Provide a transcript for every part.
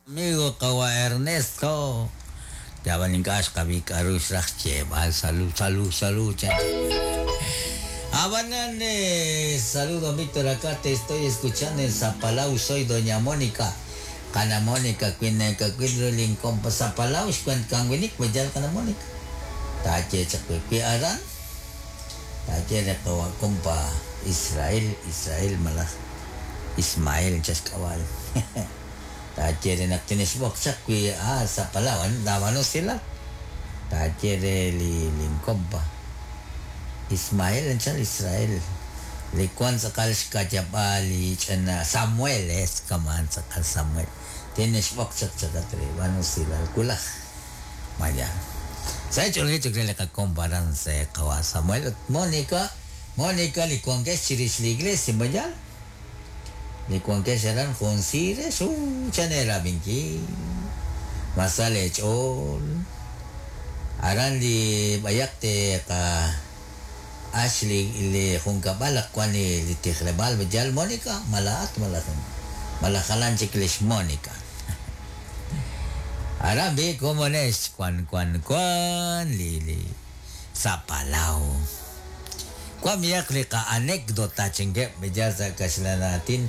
Amigo qawa' Ernesto. Ab'an ink'a' xqab'i k'a'ru xraj xyeeb'al. Salud, salud, salud, chan. Ab'anan, saludo Víctor, acá te estoy escuchando en Zapalau, soy doña Mónica. Kana Mónica, kwin ru linkompa Zapalau, xkwent kanwinik, mayal kana Mónica. Taaye chaq wi wi aran, taaye re qawa' kompa Israel, Israel malaj Ismael chaxk'ab'al. Taaye re naq tinixb'oq chaq wi Zapalau, dab'ano silal. Taaye re li linkompa Ismael anchal Israel. Li wan tz'aqal xkayab'al li ch'ina Samuel es kaman tz'aqal Samuel. Tinixb'oq chaq chaqat re b'ano silal kulaj. Maya. Sa ch'olje chaq re li qakompa aran sa qawa Samuel ut Mónica, Mónica li wankex chirix li iglesia mayal. Li wankex aran jun sirex chanera binki. Masale ch'ol. Aran li b'ayaq te qa Ashley li junkab'al wan li tijleb'aal mayal Mónica malaat malaj malajalan chik lix Mónica. Aran bi komonex kwan kwan kwan li li Zapalau. Kwan miyak li ka anécdota chingue mayal sa kaxlanatin.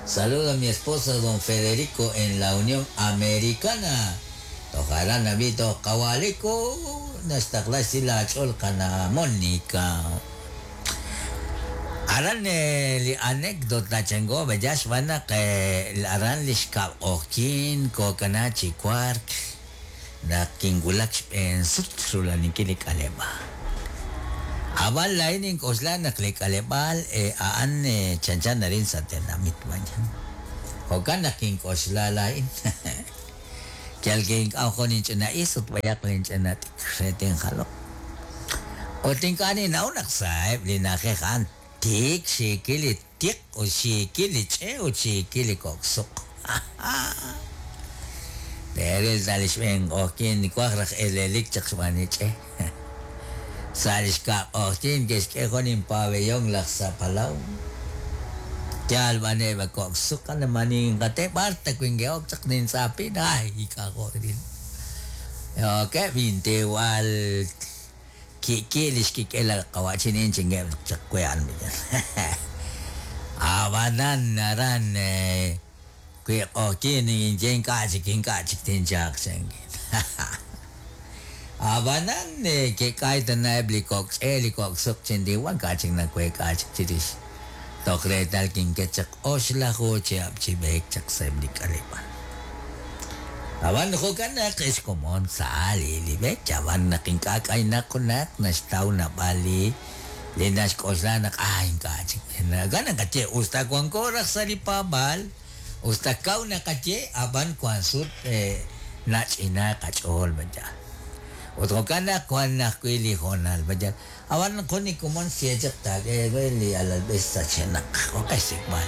Saludo a mi esposo don Federico en la Unión Americana. Tojarán nabito kawaliko naxtaqla sila ch'ol kana Mónica. Aran li anécdota chango beyax b'anaq aran li xkab' q'oqyin kokana chi wark naq kinwulak xb'een sut rulaninkil li k'aleb'aal. Ab'an laa'in ink'oxla naq li k'aleb'aal a'an chanchan narin sa' tenamit mañan. Jo'kan naq kink'oxla laa'in. Yal kink'am jun inch'ina is ut b'ayaq linch'ina t'ikr re tinjaloq. Ut ink'a' ninnaw naq sa'eb' li na'ajej a'an tik xiikil li tiq ut xiikil li ch'e ut xiikil li kok'suq. Teeril ta li xb'een q'oqyin waj raj elelik chaq xb'aan li ch'e. Sa' li xkab' q'oqyin ke'xk'e jun inpabellón laj Zapalau. Yal b'aneb' kok'suq maninqate b'ar ta winke'ok chaq nintz'apin ay k'ajo'ril. Okeb' intiwal kiki li xkik'el qawa'chinin chingeb' chaq we'an miyan. Ab'anan aran wi q'oqyin inye ink'a' chik ink'a' chik tinchaq chankin. Ab'anan ke'k'ay tana'eb' li kok'ch'e li kok'suq chintiwan k'a' chik naweek'a chik chirix. Toj reetal kinket chaq oxlaju chihab' chi b'eek chaq sa'eb' li k'aleb'aal. Ab'an jo'kan naq xkomon sa' li li b'eek ab'an naq ink'a' k'aynaq junaq naxtaw naab'al li li naxk'oxla naq ink'a' chik. Jo'kan naqaye usta wanko raj sa' li paab'aal usta kaw naqaye ab'an wan sut nach'ina qach'ool mayal. Ut jo'kan naq wan ajwi' li hoonal mayal. Ab'an jun li komon xye chaq taak'e li alalb'ej sachenaq jo'kan xsik'b'al.